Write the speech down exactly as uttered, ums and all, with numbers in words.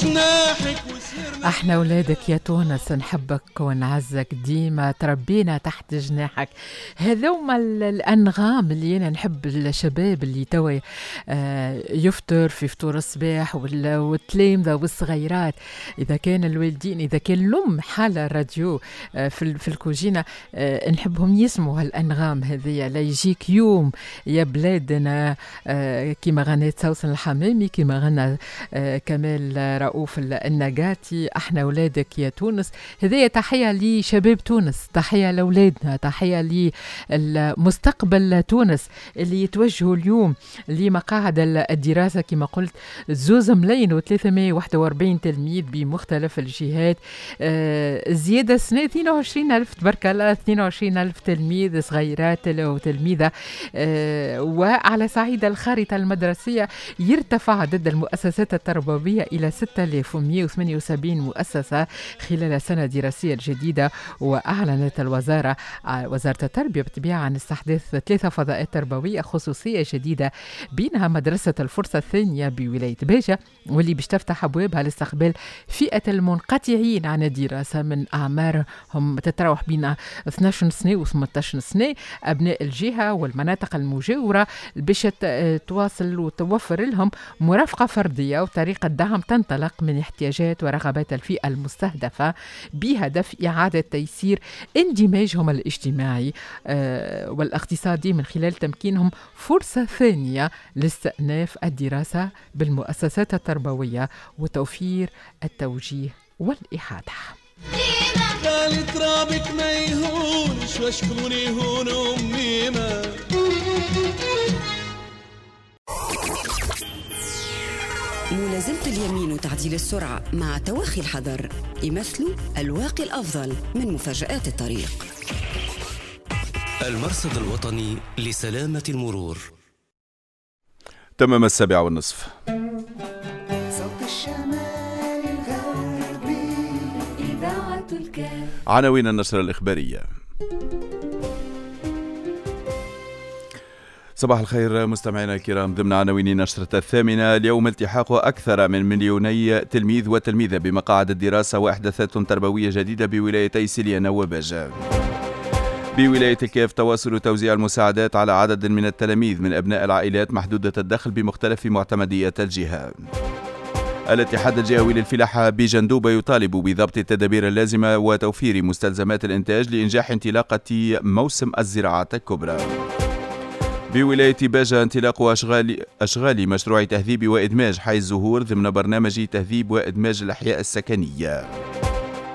جناحك. احنا اولادك يا تونس، نحبك ونعزك ديما، تربينا تحت جناحك. هذوما الانغام اللي انا نحب الشباب اللي توا يفطر في فطور الصباح والتلامذه والصغيرات، اذا كان الوالدين، اذا كان الام حاله الراديو في في الكوجينه، نحبهم يسمعوا هالانغام هذيا. لا يجيك يوم يا بلادنا، كيما غنيت سوسن الحمامي، كيما غنى كمال رؤوف النجاتي، احنا اولادك يا تونس. هذه تحية لشباب تونس، تحية لاولادنا، تحية للمستقبل تونس اللي يتوجهوا اليوم لمقاعد الدراسة كما قلت زوز ملايين وثلاثمائة وواحد وأربعين تلميذ بمختلف الجهات. آه زيادة سنة اثنين وعشرين ألف، تبارك الله، اثنين وعشرين ألف تلميذ صغيرات وتلميذه. آه وعلى صعيد الخارطة المدرسية يرتفع عدد المؤسسات التربوية الى ستة آلاف ومئة وثمانية وسبعين مؤسسة خلال السنة الدراسية الجديدة. وأعلنت الوزارة، وزارة التربية بالطبيعة، عن استحداث ثلاثة فضاءات تربوية خصوصية جديدة، بينها مدرسة الفرصة الثانية بولاية باجة، واللي باش تفتح أبوابها لاستقبال فئة المنقطعين عن الدراسة من أعمارهم تتراوح بين اثني عشر سنة و ثمانية عشر سنة، أبناء الجهة والمناطق المجاورة، باش تواصل وتوفر لهم مرافقة فردية وطريقة دعم تنطلق من احتياجات ورغبات الفئة المستهدفة، بهدف إعادة تيسير اندماجهم الاجتماعي والاقتصادي من خلال تمكينهم فرصة ثانية لاستئناف الدراسة بالمؤسسات التربوية وتوفير التوجيه والإحاطة. غالي ترابك ما يهونش وشكون يهون أمي ما. ملازمة اليمين وتعديل السرعة مع توخي الحذر يمثلوا الواقي الأفضل من مفاجآت الطريق. المرصد الوطني لسلامة المرور. تمام السابعة والنصف. صوت الشمال الغربي، إذاعة الكاف. عناوين النشرة الإخبارية. صباح الخير مستمعينا الكرام. ضمن عناوين نشرة الثامنة اليوم: التحاق أكثر من مليوني تلميذ وتلميذة بمقاعد الدراسة وإحداثات تربوية جديدة بولايتي سليانة وباجة. بولاية الكاف تواصل توزيع المساعدات على عدد من التلاميذ من أبناء العائلات محدودة الدخل بمختلف معتمديات الجهة. الاتحاد الجهوي للفلاحة بجندوبة يطالب بضبط التدابير اللازمة وتوفير مستلزمات الإنتاج لإنجاح انطلاقة موسم الزراعات الكبرى. بولاية باجة انطلاق أشغال, أشغال مشروع تهذيب وإدماج حي الزهور ضمن برنامج تهذيب وإدماج الأحياء السكنية.